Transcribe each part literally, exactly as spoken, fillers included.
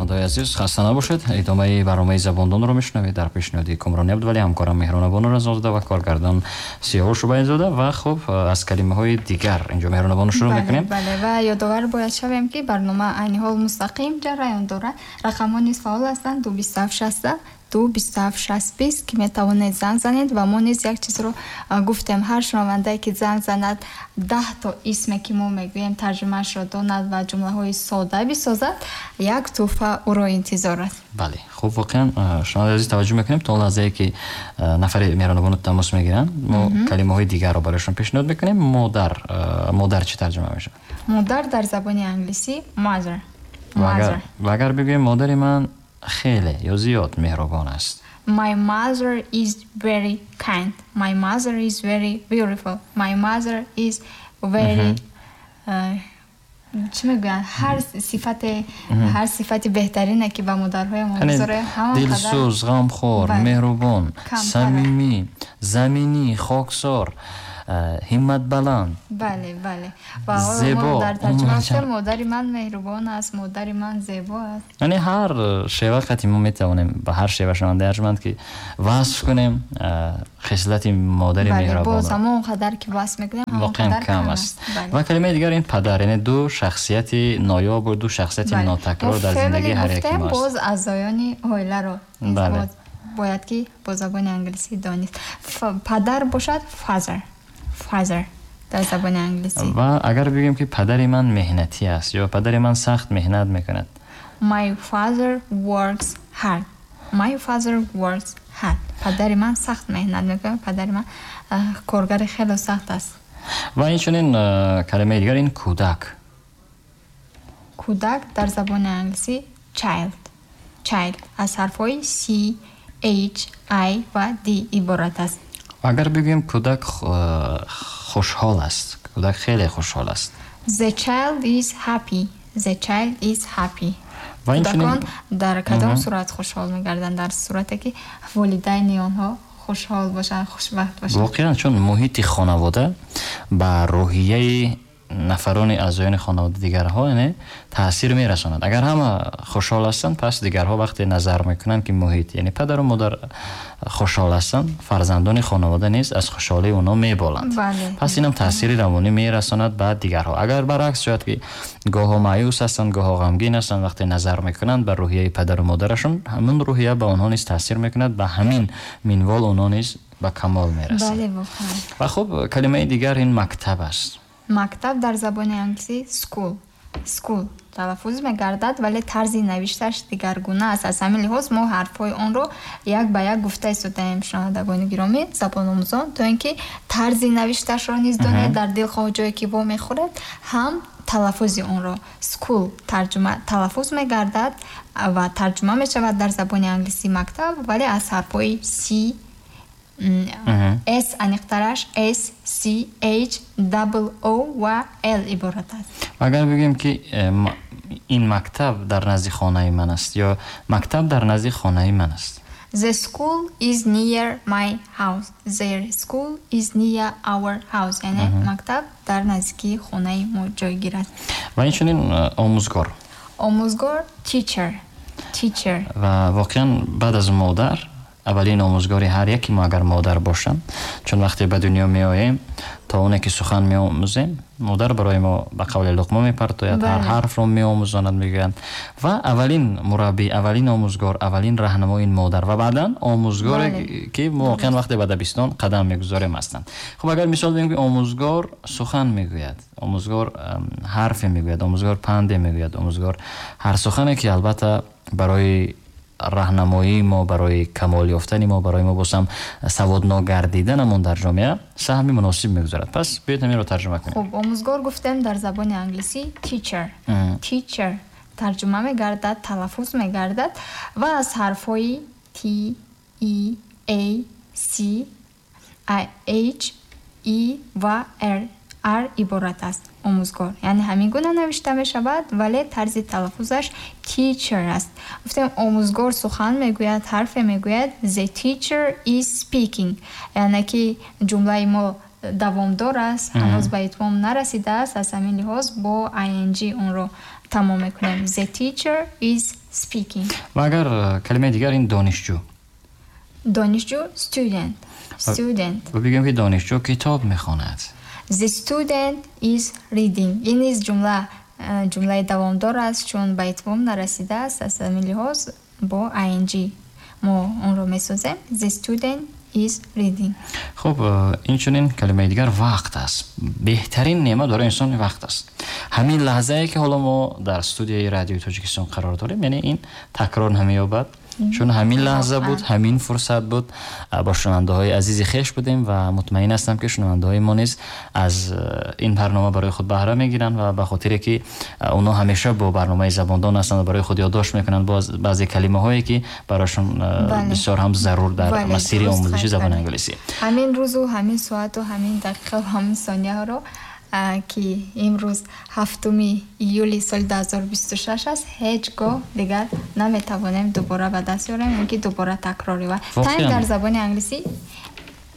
Шунавандаҳои азиз, хаста набошед. Идомаи барномаи Забондонро мешунавед дар пешниҳоди Кумрони Абдувалӣ, ҳамкорам Меҳрунабону Разозода ва коргардон Сиёвуш Шубайзода. Ва хуб, аз калимаҳои дигар инҷо Меҳрунабону шурӯъ мекунем. Бале, ва ёдовар бояд шавем, ки барнома айни ҳол мустақим ҷараён дорад. Рақамҳо низ фаъол ҳастанд: ду бисту ҳафт шаста, ду бисту ҳафт шаст бист, ки метавонед занг занед. Ва мо низ як чизро гуфтем: ҳар шунавандае, ки занг занад, даҳто исме, ки мо мегӯем, тарҷумаашро донад ва ҷумлаҳои сода бисозад, як тӯҳфа ӯро интизор аст. Бале, хуб, воқеан, шунавандаи азиз, таваҷҷӯҳ мекунем. То он лаҳзае, ки нафаре Меҳрунабону тамос мегиранд, мо калимаҳои дигарро барояшон пешниҳод мекунем. Модар, модар чӣ тарҷума мешавад? Модар дар забони англисӣ mother. Ва агар бигӯем, модари ман хеле ё зиёд меҳрубон аст? My mother is very kind. My mother is very beautiful. My mother is very, чӣ мегӯянд, ҳар сифате, ҳар сифати беҳтарине, ки ба модарҳои мо гузорем. Дилсӯз, ғамхор, меҳрубон, самимӣ, заминӣ, хоксор, ҳимматбаланд. Бале, бале. Ва зебо. Дар тарҷума гуфтем, модари ман меҳрубон аст, модари ман зебо аст. Яъне ҳар шева қати мо метавонем ба ҳар шева, шунавандаи арҷманд, ки васф кунем хислати модари меҳрубон. Боз ҳамон қадар, ки васф мекунем, воқеан кам аст. Ва калимаи дигар ин падар, яъне ду шахсияти ноёбу ду шахсияти нотакрор дар зиндагии ҳар яки мост. Боз аъзоёни оиларо бояд ки бо забони англисӣ донист. Падар бошад father, father дар забони англисӣ. Ва агар бигӯем, ки падари ман меҳнатӣ аст ё падари ман сахт меҳнат мекунад? My father works hard. My father works hard. Падари ман сахт меҳнат мекунад, падари ман коргари хеле сахт аст. Ва инчунин калимаи дигар ин кӯдак. Кӯдак дар забони англисӣ child. Child аз ҳарфҳои C, H, I ва D иборат аст. Агар бигӯем, кӯдак хушҳол аст, кӯдак хеле хушҳол аст? The child is happy. The child is happy. Кӯдакон дар кадом сурат хушҳол мегарданд? Дар сурате, ки волидайни онҳо хушҳол бошанд, хушбахт бошанд. Воқеан, чун муҳити хонавода ба рӯҳияи нафарони аъзоёни хонавода дигарҳо, яъне, таъсир мерасонад. Агар ҳама хушҳол ҳастанд, пас дигарҳо вақте назар мекунанд, ки муҳит, яъне падару модар хушҳол ҳастанд, фарзандони хонавода низ аз хушҳолии онҳо меболанд. Пас инам таъсири равонӣ мерасонад ба дигарҳо. Агар баръакс шояд, ки гоҳо маъюс ҳастанд, гоҳо ғамгин ҳастанд, вақте назар мекунанд ба рӯҳияи падару модарашон, ҳамин рӯҳия ба онҳо низ таъсир мекунад. Ба ҳамин минвол онҳо низ ба камол мерасанд. Ва хуб, калимаи дигар ин мактаб аст. Мактаб дар забони англисӣ school. School талаффуз мегардад, вале тарзи навишташ дигаргуна аст. Аз ҳамин лиҳоз мо ҳарфҳои онро як ба як гуфта истодаем, шунавандагони гиромӣ, забономӯзон, то ин ки тарзи навишташро низ донед, дар дилхоҳ ҷое ки вомехӯред, ҳам талаффузи онро. School тарҷума талаффуз мегардад ва тарҷума мешавад дар забони англисӣ мактаб, вале аз ҳарфҳои C, S, аниқтараш S, C, H, double O ва L иборат аст. Агар бигӯем, ки э, ин мактаб дар назди хонаи ман аст ё мактаб дар назди хонаи ман аст? The school is near my house. The school is near our house. Яъне мактаб дар наздикии хонаи мо ҷойгир аст. Ва инчунин э, омӯзгор. Омӯзгор teacher. Teacher. Ва воқеан, баъд аз модар аввалин омӯзгори ҳар яке мо агар модар бошанд, чун вақте ба дунё меоем, то оне ки сухан меомӯзем, модар барои мо ба қавли луқма мепартояд, ҳар ҳарфро меомӯзонад, мегӯянд. Ва аввалин мураббӣ, аввалин омӯзгор, аввалин раҳнамо ин модар ва баъдан омӯзгоре, ки мо воқеан вақте ба дабистон қадам мегузорем, ҳастанд. Хуб, агар мисол бигӯем, ки омӯзгор сухан мегӯяд, омӯзгор ҳарфе мегӯяд, омӯзгор панде мегӯяд, омӯзгор ҳар сухане, ки албатта барои раҳнамоии мо, барои камол ёфтани мо, барои мо боз ҳам саводнок гардиданамон дар ҷомеа саҳми муносиб мегузорад. Пас биёед, ҳаминро тарҷума кунем. Хуб, омӯзгор гуфтем дар забони англисӣ teacher. Teacher тарҷума мегардад, талаффуз мегардад ва аз ҳарфҳои T, E, A, C, H, E ва R R иборат аст. Омӯзгор, яъне, ҳамин гуна навишта мешавад, вале тарзи талаффузаш teacher аст. Гуфтем, омӯзгор сухан мегӯяд, ҳарфе мегӯяд. The teacher is speaking. Яъне ки ҷумлаи мо давомдор аст, ҳанӯз ба итмом нарасидааст. Аз ҳамин лиҳоз бо ing онро тамом мекунем. The teacher is speaking. Ва агар калимаи дигар ин донишҷӯ. Донишҷӯ student. Student. Ва бигӯем ки донишҷӯ китоб мехонад. The student is reading. Ин низ ҷумла ҷумлаи давомдор аст, чун ба итмом нарасидааст. Аз ҳамин лиҳоз бо ing мо онро месозем. The student is reading. Хуб, инчунин калимаи дигар вақт аст. Беҳтарин неъмат барои инсон вақт аст. Ҳамин лаҳзае ки ҳоло мо дар студияи радиои Тоҷикистон қарор дорем, яъне ин такрор намеёбад, чун ҳамин лаҳза буд, ҳамин фурсат буд, бо шунавандаҳои азизи хеш будем ва мутмаин ҳастам ки шунавандаҳои мо низ аз ин барнома барои худ баҳра мегиранд ва ба хотире ки онҳо ҳамеша бо барномаи забондон ҳастанд ва барои худ ёддошт мекунанд баъзе калимаҳое ки барояшон бисёр ҳам зарур дар масири омӯзиши забони англисӣ. Ҳамин рӯзу ҳамин соату ҳамин дақиқа ва ҳамин сонияҳоро ки имрӯз ҳафтуми июли соли дуҳазору бисту шаш аст, ҳеҷ гоҳ дигар наметавонем дубора ба даст ёрем ё ки дубора такрор ёбад. Time дар забони англисӣ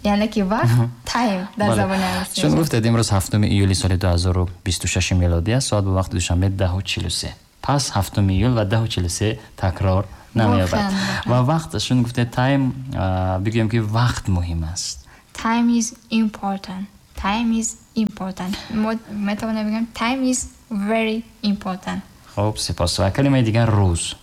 яъне ки вақт, time дар забони англисӣ. Чун гуфтед имрӯз ҳафтуми июли соли дуҳазору бисту шаши мелодӣ аст, соат ба вақти душанбе даҳу чилу се. Пас ҳафтуми июл ва даҳу чилу се такрор намеёбад. Ва вақт, чун гуфтед time, бигӯем ки вақт муҳим аст. Time is important. Time is important. Мо метавонем бигӯем time is very important. Хуб, сипос. Ва калимаи дигар рӯз.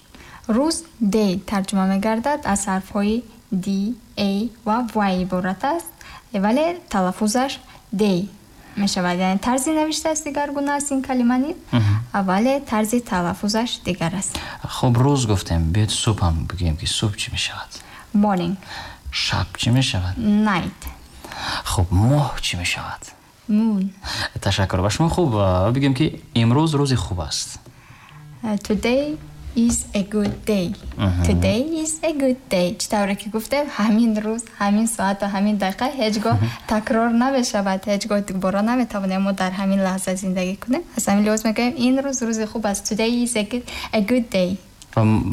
Рӯз day тарҷума мегардад, аз ҳарфҳои D, A ва Y иборат аст, вале талаффузаш day мешавад. Яъне тарзи навиштааш дигаргуна аст ин калима низ, вале тарзи талаффузаш дигар аст. Хуб, рӯз гуфтем, биёед субҳ ҳам бигӯем ки субҳ чӣ мешавад? Morning. Шаб чӣ мешавад? Night. Хуб, моҳ чӣ мешавад? Moon. Ташаккур ба шумо. Хуб, бигӯем ки имрӯз рӯзи хуб аст. Today is a good day. Today is a good day. Чӣ тавре ки гуфтем, ҳамин рӯз, ҳамин соат ва ҳамин дақиқа ҳеҷ гоҳ такрор намешавад, ҳеҷ гоҳ дубора наметавонем мо дар ҳамин лаҳза зиндагӣ кунем. Аз ҳамин лиҳоз мегӯем ин рӯз рӯзи хуб аст. Today is a good, a good day.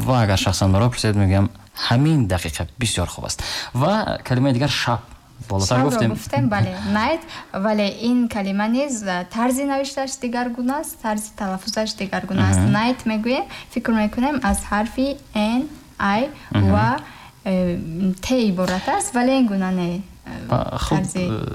Ва агар шахсан маро пурсед, мегӯям ҳамин дақиқа бисёр хуб аст. Ва калимаи дигар шаб. Болотар гуфтем. Гуфтем, бале, night, вале ин калима низ тарзи навиштааш дигаргуна аст, тарзи талаффузаш дигаргуна аст. Night мегӯем, фикр мекунем аз ҳарфи N, I ва T иборат аст, вале ин гуна не. Хуб,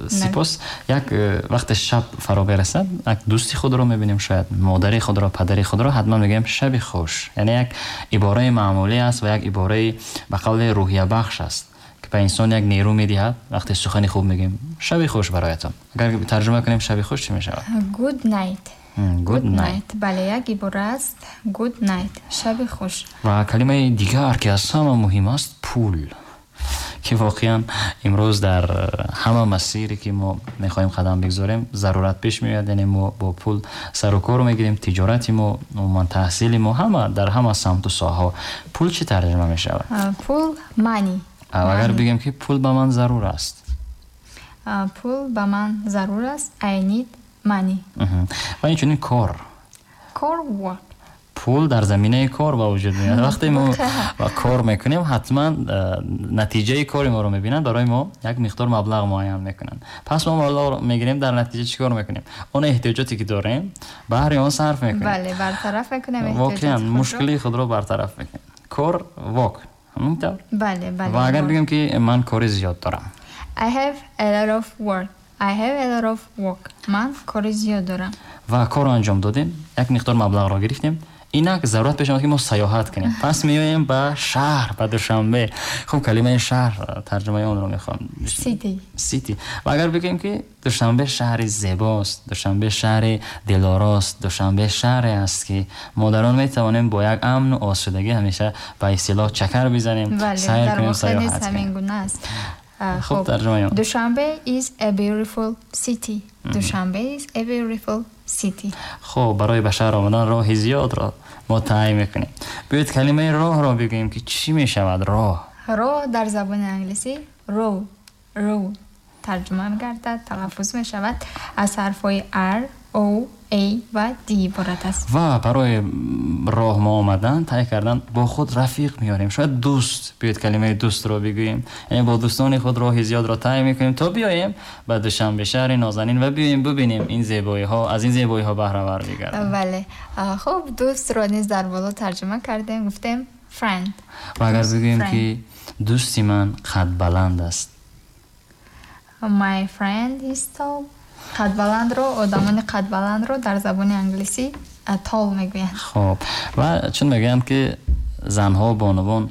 сипос. Як вақте шаб фаро мерасад, як дӯсти худро мебинем, шояд модари худро, падари худро, ҳатман мегӯем шаби хуш. Яъне як ибораи маъмулӣ аст ва як ибораи ба қавли рӯҳиябахш аст. Ба инсон як нерӯ медиҳад вақте сухани хуб мегӯем. Шаби хуш бароятон. Агар тарҷума кунем шаби хуш чӣ мешавад? Good night. Good night. Бале, як ибора аст. Good night. Шаби хуш. Ва калимаи дигар ки аз ҳама муҳим аст, пул. Ки воқеан имрӯз дар ҳама масире ки мо мехоҳем қадам бигзорем, зарурат пеш меояд. Яъне мо бо пул сару кор мегирем, тиҷорати мо, умуман таҳсили мо, ҳама дар ҳама самту соҳаҳо. Пул чӣ тарҷума мешавад? Пул money. Агар бигӯем ки пул ба ман зарур аст. Пул ба ман зарур аст. I need money. Ва инчунин кор. Кор work. Пул дар заминаи кор ба вуҷуд меояд. Вақте мо кор мекунем, ҳатман натиҷаи кори моро мебинанд, барои мо як миқдор маблағ муайян мекунанд. Пас мо маблағро мегирем, дар натиҷа чӣ кор мекунем? Он эҳтиёҷоте ки дорем, баҳри он сарф мекунем. Бале, бартараф мекунем эҳтиёҷоти худро. Воқеан мушкили худро бартараф мекунем. Кор work. Ҳамин тавр? Бале, бале. Ва агар бигӯем ки ман кори зиёд дорам. I have a lot of work. I have a lot of work. Ман кори зиёд дорам. Ва корро анҷом додем, як миқдор маблағро гирифтем. Инак зарурат пеш омад ки мо сайёҳат кунем. Пас меоем ба шаҳр, ба Душанбе. Хуб, калимаи шаҳр тарҷумаи онро мехоҳам. City. City. Ва агар бигӯем ки Душанбе шаҳри зебост, Душанбе шаҳри дилорост, Душанбе шаҳре аст ки мо дар он метавонем бо як амну осудагӣ ҳамеша ба истилоҳ чакар бизанем, сайр кунем, сайёҳат кунем. Хуб, тарҷумаи он. Душанбе is a beautiful city. Душанбе is a beautiful city. Хуб, барои ба шаҳр омадан роҳи зиёдро мо таъйин мекунем. Биёед калимаи роҳро бигӯем ки чӣ мешавад роҳ? Роҳ дар забони англисӣ road, road тарҷума мегардад, талаффуз мешавад аз ҳарфҳои R, O, A ва D иборат аст. Ва барои роҳ мо омадан, тай кардан, бо худ рафиқ меорем. Шояд дӯст, биёед калимаи дӯстро бигӯем. Яъне бо дӯстони худ роҳи зиёдро тай мекунем то биёем ба Душанбе, шаҳри нозанин, ва биёем бубинем ин зебоиҳо, аз ин зебоиҳо баҳравар бигардем. Бале. Хуб, дӯстро низ дар боло тарҷума кардем, гуфтем friend. Ва агар бигӯем ки дӯсти ман қадбаланд аст. My friend is tall. Қадбаландро, одамони қадбаландро дар забони англисӣ tall мегӯянд. Хуб, ва чун мегӯянд ки занҳо, бонувон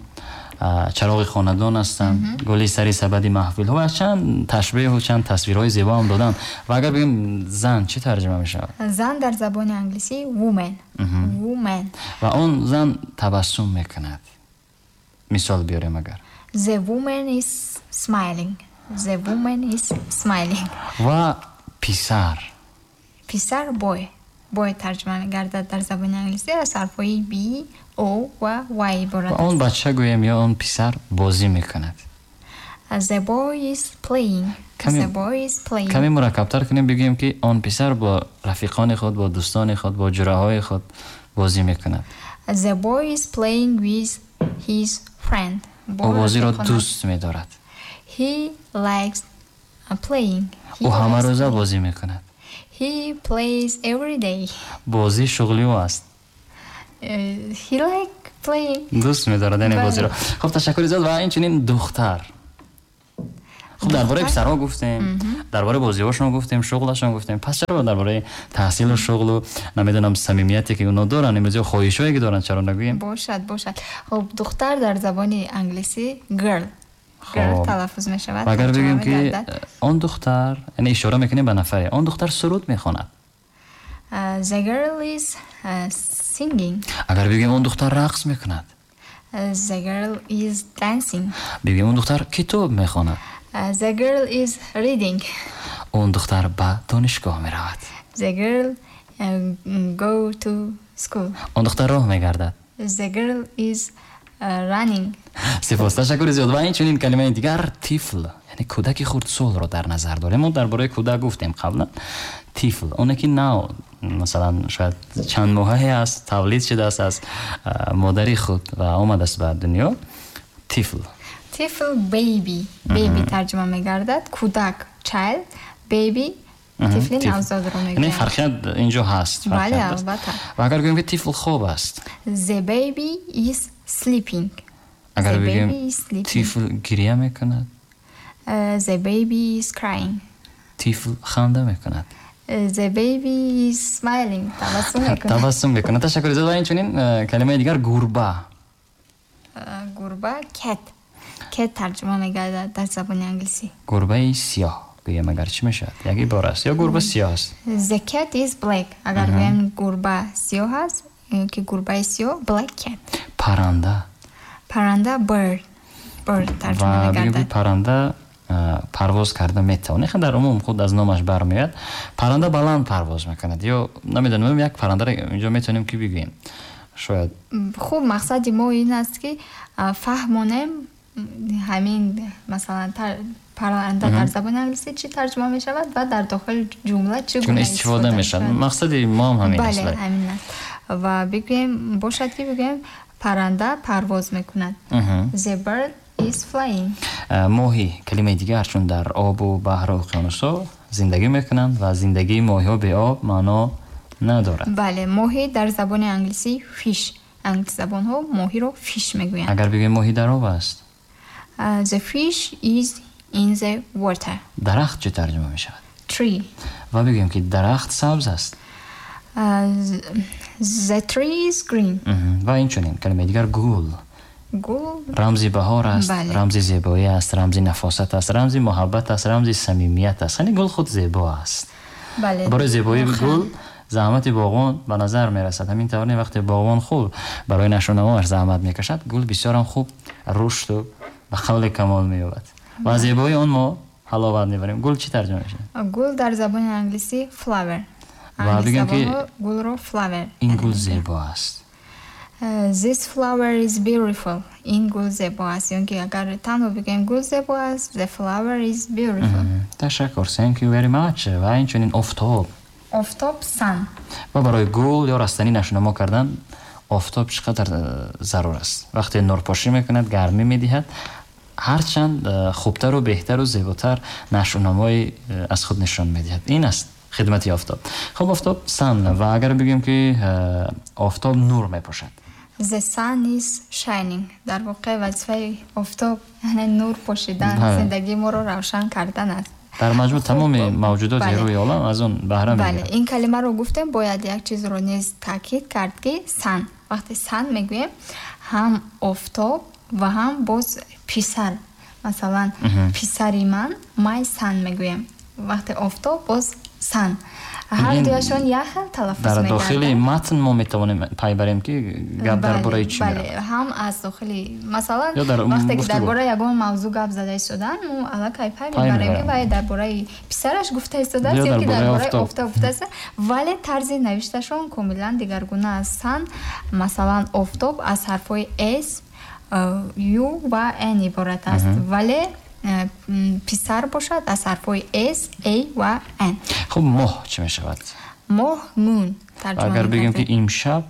чароғи хонадон ҳастанд, гули сари сабади маҳфилҳо, ва чанд ташбеҳу чанд тасвирҳои зебо ҳам доданд. Ва агар бигӯем зан, чӣ тарҷума мешавад? Зан дар забони англисӣ woman. Woman. Ва он зан табассум мекунад. Мисол биёрем агар. The woman is smiling. The woman is smiling. Ва писар. Писар boy. Boy тарҷума мегардад дар забони англисӣ аз ҳарфҳои B, O ва Y иборат аст. Он бача гӯем ё он писар бозӣ мекунад. The boy is playing. The boy is playing. Каме мураккабтар кунем, бигӯем ки он писар бо рафиқони худ, бо дӯстони худ, бо ҷураҳои худ бозӣ мекунад. The boy is playing with his friend. Ӯ бозиро дӯст медорад. He likes playing. Ӯ ҳамарӯза бозӣ мекунад. He plays every day. Бозӣ шуғли ӯ аст. He like playing. Дӯст медорад яъне бозиро. Хуб, ташаккури зиёд. Ва инчунин духтар. Хуб, дар бораи писарҳо гуфтем, дар бораи бозиҳошон гуфтем, шуғлашон гуфтем. Пас чаро дар бораи таҳсилу шуғлу, намедонам, самимияте ки онҳо доранд, имрӯз ё хоҳишҳое ки доранд, чаро нагӯем? Бошад, бошад. Хуб, духтар дар забони англисӣ girl. Girl талаффуз мешавад. Агар бигӯем ки он духтар, яъне ишора мекунем ба нафаре, он духтар суруд мехонад. The girl is singing. Агар бигӯем он духтар рақс мекунад. The girl is dancing. Бигӯем он духтар китоб мехонад. The girl is reading. Он духтар ба донишгоҳ меравад. The girl go to school. Он духтар роҳ мегардад. The girl is running. Сипос, ташаккури зиёд. Ва инчунин калимаи дигар тифл, яъне кӯдаки хурдсолро дар назар дорем. Мо дар бораи кӯдак гуфтем қаблан. Тифл, оне ки нав, масалан, шояд чанд моҳае аст, тавлид шудааст аз модари худ ва омадааст ба дунё. Тифл. Тифл baby. Baby тарҷума мегардад. Кӯдак child, baby тифли навзодро мегӯянд. Яъне фарқият инҷо ҳаст. Бале, албатта. Ва агар гӯем ки тифл хоб аст. The baby is sleeping. Агар бигӯем тифл гиря мекунад. The baby is crying. Тифл ханда мекунад. The baby is smiling. Табассум мекунад. Табассум мекунад. Ташаккури зиёд. Ва инчунин калимаи дигар гурба. Гурба cat. Cat тарҷума мегардад дар забони англисӣ. Гурбаи сиёҳ гӯем агар чӣ мешавад? Як ибора аст ё гурба сиёҳ аст? The cat is black. Агар гӯем гурба сиёҳ аст, ки гурбаи сиёҳ black cat. Паранда. Паранда bird. Bird тарҷума мегардад. Ва бигӯем паранда парвоз карда метавонад. Дар умум худ аз номаш бармеояд. Паранда баланд парвоз мекунад ё намедонам, як парандаро инҷо метавонем ки бигӯем. Шояд. Хуб, мақсади мо ин аст ки фаҳмонем ҳамин, масалан, паранда дар забони англисӣ чӣ тарҷума мешавад ва дар дохили ҷумла чӣ гуна истифода мешавад. Мақсади мо ҳам ҳамин аст. Бале, ҳамин аст. Ва бигӯем, бошад ки бигӯем паранда парвоз мекунад. The bird is flying. Моҳӣ, калимаи дигар, чун дар обу баҳру уқёнусҳо зиндагӣ мекунанд ва зиндагии моҳиҳо бе об маъно надорад. Бале, моҳӣ дар забони англисӣ fish. Англисзабонҳо моҳиро fish мегӯянд. Агар бигӯем моҳӣ дар об аст. The fish is in the water. Дарахт чӣ тарҷума мешавад? Tree. Ва бигӯем ки дарахт сабз аст. The tree is green. Ва инчунин калимаи дигар гул. Гул рамзи баҳор аст, рамзи зебоӣ аст, рамзи нафосат аст, рамзи муҳаббат аст, рамзи самимият аст. Яъне гул худ зебо аст. Бале. Барои зебоии гул заҳмати боғбон ба назар мерасад. Ҳамин тавр вақте боғбон хуб барои нашъунамоаш заҳмат мекашад, гул бисёрам хуб рушду ба қавли камол меёбад ва зебоии он мо ҳаловат мебарем. Гул чӣ тарҷума мешавад? Гул дар забони англисӣ flower. Ва бигӯем ки гулро flower. Ин гул зебо аст. This flower is beautiful. Ин гул зебо аст. Ё ки агар танҳо бигӯем гул зебо аст, the flower is beautiful. Ташаккур. Thank you very much. Ва инчунин офтоб. Офтоб sun. Ва барои гул ё растанӣ нашъунамо кардан офтоб чӣ қадар зарур аст. Вақте нурпошӣ мекунад, гармӣ медиҳад, ҳарчанд хубтару беҳтару зеботар нашъунамои аз худ нишон медиҳад. Ин аст хидмати офтоб. Хуб, офтоб sun. Ва агар бигӯем ки офтоб нур мепошад. The sun is shining. Дар воқеъ вазифаи офтоб яъне нур пошидан, зиндагии моро равшан кардан аст. Дар маҷмӯъ тамоми мавҷудоти рӯи олам аз он баҳра мегиранд. Бале, ин калимаро гуфтем, бояд як чизро низ таъкид кард, ки sun. Вақте sun мегӯем, ҳам офтоб ва ҳам боз писар. Масалан, писари ман my son мегӯем. Вақте офтоб боз sun. Ҳар дуяшон як хел талаффуз дар мегарданд. Дохили матн мо метавонем пай барем, ки гап дар бораи чӣ бале, меравад. Ҳам аз дохили, масалан, Ё дар вақте ки гуфтугӯ. дар бораи ягон мавзӯъ гап зада истодан, мо аллакай пай Пай мебарем, ки мебарем. вай дар бораи писараш гуфта истодааст Ё ё дар ки дар бораи бораи офтоб. офтоб гуфтааст, вале тарзи навишташон комилан дигаргуна аст. Sun, масалан, офтоб аз ҳарфҳои S, U ва N иборат аст, вале э, м, писар бошад аз ҳарфҳои S, A ва N. Хуб, моҳ чӣ мешавад? Моҳ moon тарҷума Агар бигӯем, ки мегардад. имшаб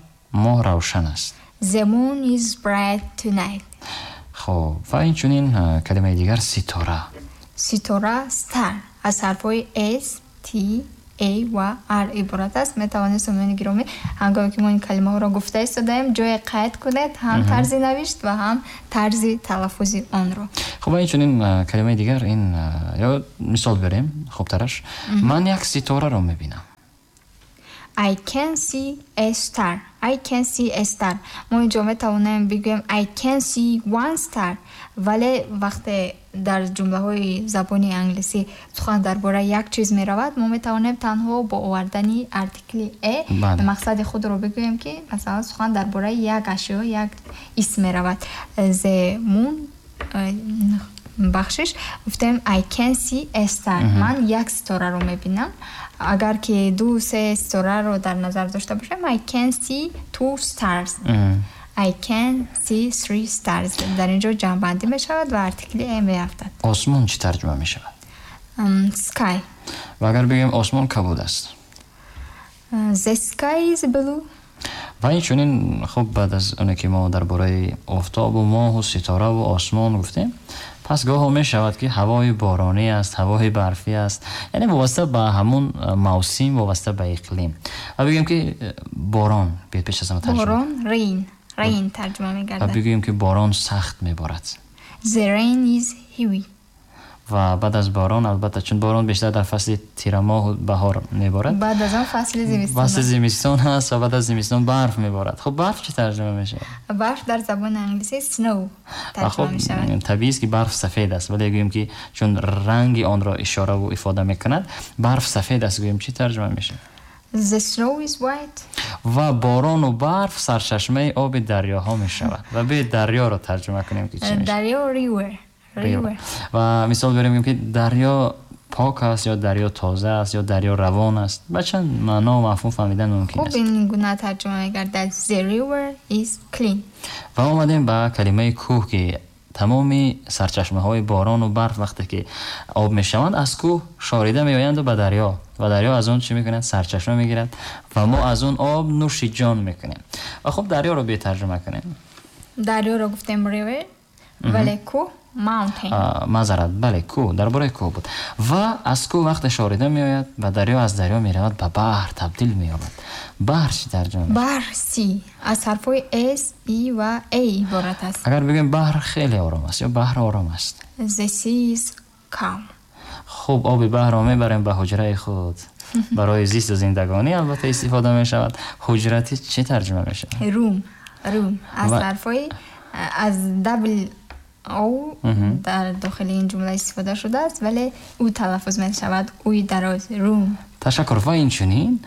моҳ равшан аст. The moon is bright tonight. Хуб, ва инчунин э, калимаи дигар ситора. Ситора star аз ҳарфҳои S, T, A ва R иборат аст. Метавонед, сомиёни гиромӣ, ҳангоме ки мо ин калимаҳоро гуфта истодаем, ҷое қайд кунед ҳам тарзи навишт ва ҳам тарзи талаффузи онро. Хуб, ва инчунин э, калимаи дигар ин э, ё мисол биёрем хубтараш. Ман як ситораро мебинам. I can see a star. I can see a star. Мо инҷо метавонем бигӯем I can see one star. Вале вақте дар ҷумлаҳои забони англисӣ сухан дар бораи як чиз меравад, мо метавонем танҳо бо овардани артикли a Бале. мақсади худро бигӯем, ки масалан сухан дар бораи як ашё, як исм меравад. The moon, э, бахшиш, гуфтем I can see a star. Ман як ситораро мебинам. Агар ки ду се ситораро дар назар дошта бошем, I can see two stars. I can see three stars. Дар ин ҷо ҷамъбандӣ мешавад ва артикли a меафтад. Осмон чӣ тарҷума мешавад? М, Sky. Ва агар бигӯем осмон кабуд аст. The sky is blue. Ва инчунин, хуб, баъд аз оне ки мо дар бораи офтобу моҳу ситораву осмон гуфтем, пас гоҳо мешавад, ки ҳавои боронӣ аст, ҳавои барфӣ аст, яъне вобаста ба ҳамун э, мавсим, вобаста ба иқлим. Ва бигӯем, ки э, борон биёд пеш аз ҳама тарҷума. Борон rain. Rain тарҷума Ва мегардад. бигӯем, ки борон сахт меборад. The rain is heavy. Ва баъд аз борон, албатта, чун борон бештар дар фасли тирамоҳу баҳор меборад, Баъд аз он фасли зимистон фасли аст. зимистон ҳаст ва баъд аз зимистон барф меборад. Хуб, барф чӣ тарҷума мешавад? Барф дар забони англисӣ snow Ва тарҷума хуб, мешавад. Табиист, ки барф сафед аст, вале гӯем, ки чун ранги онро ишораву ифода мекунад, барф сафед аст, гӯем, чӣ тарҷума мешавад? The snow is white. Ва борону барф сарчашмаи оби дарёҳо мешавад. Ва биёед дарёро тарҷума кунем, ки чӣ мешавад. Дарё river. River. Ва мисол биёрем, гӯем, ки дарё пок аст ё дарё тоза аст ё дарё равон аст. Ба чанд маъно мафҳум фаҳмидан мумкин Хуб, аст. ин гуна тарҷума мегардад. The river is clean. Ва омадем ба калимаи кӯҳ, ки тамоми сарчашмаҳои борону барф, вақте ки об мешаванд, аз кӯҳ шорида меоянду ба дарё, ва дарё аз он чӣ мекунад? Сарчашма мегирад ва мо аз он об нӯши ҷон мекунем. Ва хуб, дарёро биё тарҷума кунем. Дарёро гуфтем river, вале кӯҳ mountain. А, маъзарат, бале, кӯҳ, дар бораи кӯҳ буд. Ва аз кӯҳ вақте шорида меояд ба дарё, аз дарё меравад, ба баҳр табдил меёбад. Баҳр чӣ тарҷума мешавад? Баҳр sea аз ҳарфҳои S, E ва A иборат аст. Агар бигӯем баҳр хеле ором аст ё баҳр ором аст. The sea is calm. Хуб, оби баҳрро мебарем ба ҳуҷраи худ, барои зисту зиндагонӣ албатта истифода мешавад. Ҳуҷра чӣ тарҷума мешавад? Room. Room аз Ва- ҳарфҳои аз double O дар дохили ин ҷумла истифода шудааст, вале ӯ талаффуз мешавад, уи дароз, room. Ташаккур. Ва инчунин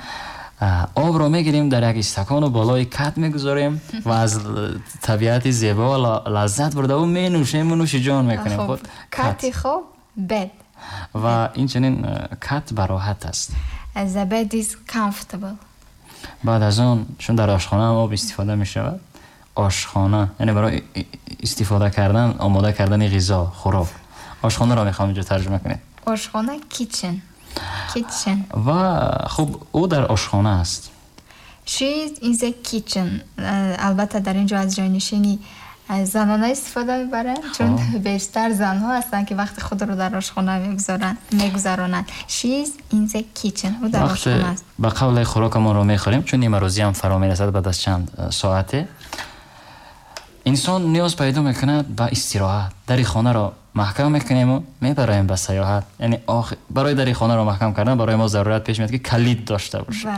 а, обро мегирем, дар як истакону болои кат мегузорем ва аз л- табиати зебо ла- лаззат бурдаву менӯшему нӯши ҷон мекунем. Хуб, худ кати хоб bed. Ва инчунин э, кат бароҳат аст. The bed is comfortable. Баъд аз он, чун дар ошхона ҳам об истифода мешавад, ошхона яъне барои и- истифода кардан, омода кардани ғизо, хӯрок, ошхонаро мехоҳам инҷо тарҷума кунед. Ошхона kitchen. Kitchen. Ва хуб, ӯ дар ошхона аст. She is in the kitchen. Албатта, дар ин ҷо аз ҷойнишини занона истифода мебаранд, чун бештар занҳо ҳастанд, ки вақти худро дар ошхона мегузаронанд. She is in the kitchen. Ӯ дар ошхона аст. Ба қавле хӯрокамонро мехӯрем, чун нимарӯзӣ ҳам фаро мерасад баъд аз чанд соате. Инсон ниёз пайдо мекунад ба истироҳат. Дари хонаро маҳкам мекунему мебароем ба сайёҳат. Яъне барои дари хонаро маҳкам кардан барои мо зарурат пеш меяд, ки калид дошта бошем.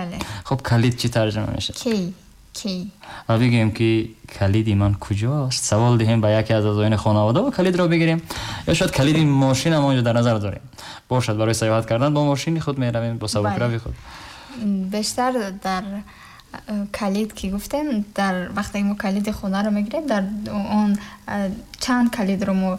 Хуб, калид чӣ тарҷума мешавад? Key. Key. Ва бигӯем, ки калиди ман куҷост, савол диҳем ба яке аз аъзоёни хонавода ва калидро бигирем. Ё шояд калиди мошинам онҷо дар назар дорем бошад, барои сайёҳат кардан бо мошини худ меравем, бо сабукрави худ. Бештар дар калид ки гуфтем, дар вақте мо калиди хонаро мегирем, дар он чанд калидро мо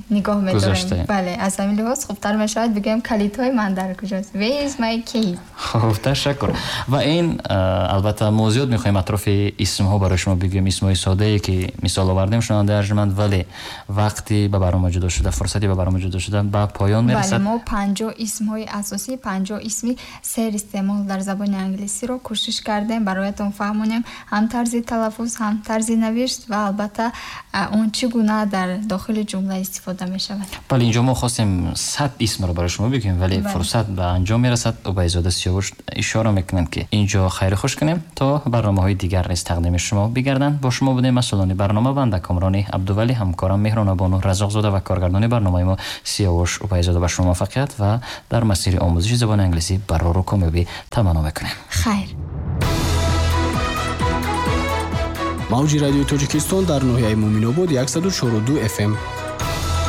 нигоҳ медорем. Бале, аз ҳамин лиҳоз хубтар мешавад бигӯем, калидҳои ман дар куҷост. Where is my key? Хуб, ташаккур. Ва ин албатта мо зиёд мехоҳем атрофи исмҳо барои шумо бигӯем, исмҳои содае ки мисол овардем, шунавандаи арҷманд, вале вақти ба барнома ҷудо шуда, фурсати ба барнома ҷудо шуда ба поён мерасад. Бале, мо панҷоҳ исмҳои асосӣ, панҷоҳ исми сер истеъмол дар забони англисиро кӯшиш кардем бароятон фаҳмонем, ҳам тарзи талаффуз, ҳам тарзи навишт ва албатта он чӣ гуна дар дохили ҷумла истифода мешавад. Бале, инҷо мо хостем сад исмро барои шумо бигӯем, вале фурсат ба анҷом мерасад. Убайзода Сиёвуш ишора мекунанд, ки инҷо хайру хуш кунем, то барномаҳои дигар низ тақдими шумо бигарданд. Бо шумо будем масъулони барнома, банда Комрони Абдувалӣ, ҳамкорам Меҳронабону Разоқзода ва коргардони барномаи мо Сиёвуш Убайзода. Ба шумо муваффақият ва дар масири омӯзиши забони англисӣ барору комёбӣ таманно мекунем. Хайр. Мавҷи радиои Тоҷикистон дар ноҳияи Муъминобод яксаду чору ду F M.